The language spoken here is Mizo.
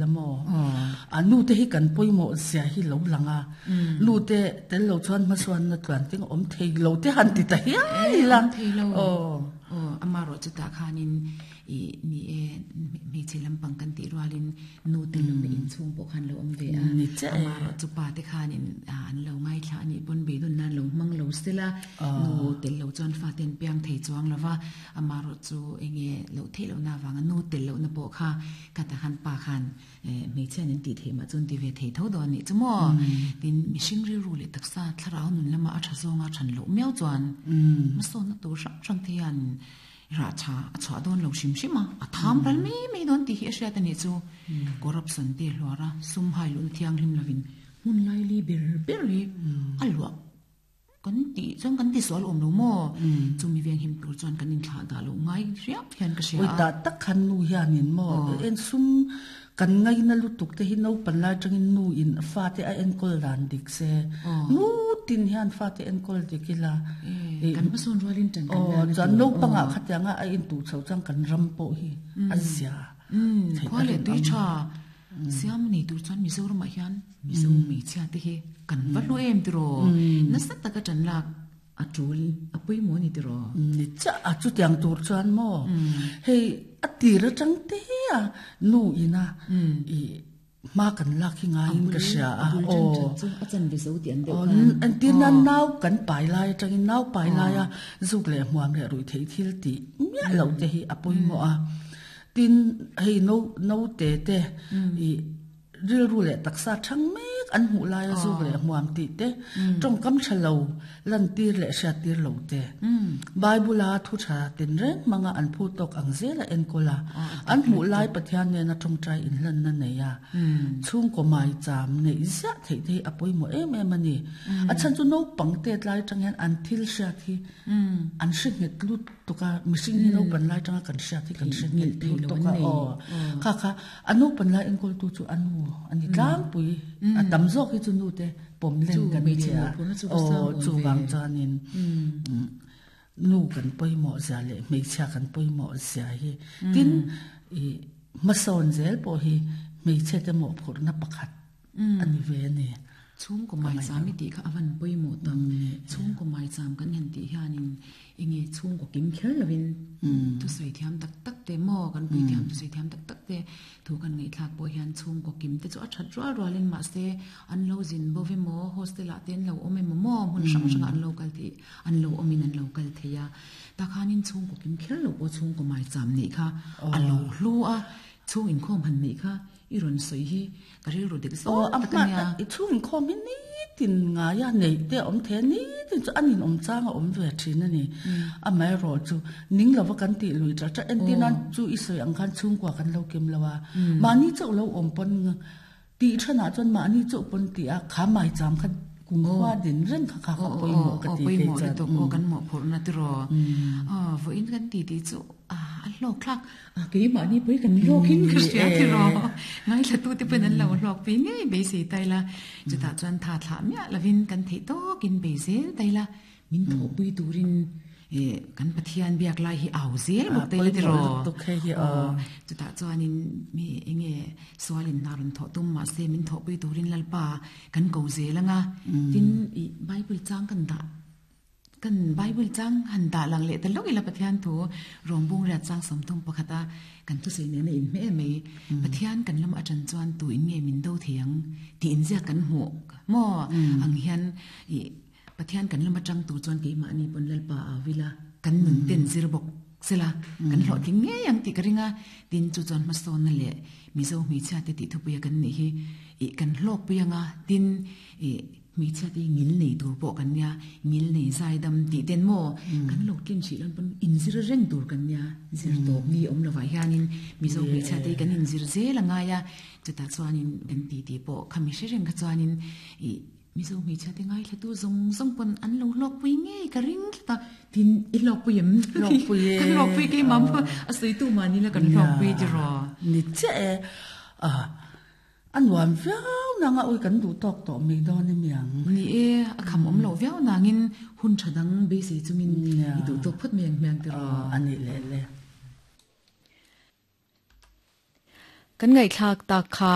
La maw? A nu te hi kan pawimawh zia hi lo lang a, nu te tel lo chuan hmasuanna tluan ting awm thei lo te han ti ta hial ila. Awm thei lo. Aw, amarawh chutah khanin i ni e, hmeichhe lampang kan tih rualin nu te lohna inchhung pawh khan lo awm ve a. Amarawh chu pa te khanin an lo ngaithla a nih pawn beidawn nan lo hmang lo sela, nu tel lo chuan fate an piang thei chuang lo va, amarawh chu enge loh theih lohna avanga nu tel lohna pawh kha Ka ta khan pa khan hmeichhia nen tih theih mah chuan ti ve thei tho dawn anih chu maw? Tin, mihring rilru leh taksa thlarau nun lama a tha zawnga than loh miau chuan hmasawnna tur hrang hrang te hian rah tha a chhuah dawn lo hrim hrim a, a tham ral mai mai dawn tih hi a hriat anih chu. Corruption te hluar a, sum hai luhna thianghlim lovin hmun laili ber ber hi a luah. Kan tih chuan kan ti sual awm lo maw? Chumi veng him tur chuan kan inthlah dah loh ngai riau hian ka hria a. Ui tah tak khan nu hianin maw en sum kan ngaina lutuk te hi naupan lai atangin nu in fate a enkawl dan dik se. Nu tin hian fate enkawl dik ila. Kan hmasawn rualin tan kan la na Chuan naupangah khatianga a intuh chho chuan kan ram pawh hi a zia theih a rinawm. Khua leh tui tha Siam nei tur chuan Mizoramah hian Mizo hmeichhia te hi kan va hlu em tiraw? Nasa taka ṭan lak a ṭul a pawimawh a ni tiraw? Ni chiah a, chutiang tur chuan maw hei a tir aṭang te a nu ina i hma kan lak hi ngaiin ka hria a. A bul ṭan ṭhat chu a chan ve zo tih an deuh khan. Entir nan nau kan pai lai aṭangin nau pai laia zuk leh hmuam leh ruih theih thil tih miah loh te hi a pawimawh a. Tin, hei no note te i rilru leh taksa thang mek an hmuh laia zuk leh hmuam tih te, tawngkam tha lo lantir leh hriattir lo te, Bible-a thu tha tinreng hmanga an phu tawk ang zela enkawl a, an hmuh lai Pathian nena tawngtai inhlanna nei a, chhungkaw maicham neih ziah theih te hi a pawimawh em em a ni. A chhan chu naupang tet lai atang hian an thil hriat hi an hre nghet lut tuk a, mihring hi naupan lai atanga kan hriat hi kan hre nghet lut tuk a, aw kha kha a naupan lai enkawltu chu a nu a ni tlangpui, a tam zawk hi chu nu te pawm len kan ni a, aw chuvang chuanin nu kan pawimawh zia leh hmeichhia kan pawimawh zia hi tin i hmasawn zel pawh hi hmeichhe te mawhphurhna pakhat a ni ve a ni. Chhungkaw maicham i tih kha a van pawimawh tak. Chhungkaw maicham kan han tih hianin enge chhungkaw kim kher lovin thusawi thiam tak tak te maw kan pui thiam thusawi thiam tak tak te thu kan ngaihthlak pawh hian chhungkaw kim te chu a that rual rualin mahse an lo zin bo emaw hostel ah te an lo awm emaw maw hmun hrang hrangah an lo kal thei an lo awmin an lo kal thei a. Takhanin chhungkaw kim kher lo pawh chhungkaw maicham neih kha a lo hlu a, chhung inkhawm han neih kha I rawn sawi hi ka rilru dik zawk tak a nia. I chhung inkhawm hi nitin ngaia neih te a awm thei a, nitin chu a ninawm chang a awm ve thin a ni. Amaherawh chu ning lova kan tih lui ṭah ṭah entir nan chu i sawi ang khan chhungkua kan lo kim lo a, mahni chauh lo awm pawn tih thanah chuan mahni chauh pawn tih a kha maicham kha kumkhua din reng kha kha kha pawimawh ka ti kei chuan. Aw kan mawhphurhna tiraw. Aw vawiin kan ti tih chu a hlawk thlak. A keimahni pawh hi kan hlawk in ka hria tiraw. Ngaithlatute pawhin an lo hlawk pui ngei beisei ta ila. Chutah chuan tha thlah miah lovin kan theih tawkin bei zel ta ila. Min thawhpui turin kan Pathian biak lai hi au zel bawk ta ila tiraw. Aw chutah chuanin mi enge sualin hna rawn thawh tum mahse min thawhpui turin Lalpa kan ko zel anga. Tin i Bible chang kan dah. Kan Bible chang han dah lang leh ta lawk ila Pathian thu rawngbung riat chang 31 a kan thusawi nena inhmeh em mai. Pathian kan lam atang chuan tu in nge min do thei ang tih inziak kan hmuh maw ang hian ih Pathian kan lam atang tur chuan keimahni pawn Lalpa au ila kan nun ten zir bawk sela kan hlawhtling ngei ang tih ka ring a. Tin chu chuan hmasawnna leh Mizo hmeichhia te tih thupuia kan nih hi ih kan hlawkpui anga tin ih Hmeichhia te hi ngil nei tur pawh kan nia, ngil nei zai dam tih ten maw kan lo tlin hrih lan pawn inzir reng tur kan nia, zir tawp ni awm lovah hianin Mizo hmeichhia te hi kan inzir zel a ngai a, chutah chuanin kan ti tih pawh khami hre reng kha chuanin ih Mizo hmeichhia te ngaithlatu zawng zawng pawn an lo hlawkpui ngei ka ring tlat a, tin i hlawkpui em? Hlawkpui e. Kan hlawkpui keimah pawh a sawitu mahni la kan hlawkpui tiraw? Ni chiah e. A nuam viau nang a, ui kan duh tawk tawh mai dawn emi ang. Ni e, a kham awm loh viau nangin hun tha dang beisei chungin i duh tawk phawt mai ang hmiang tiraw. A nih leh le. Kan ngaihthlak tak kha.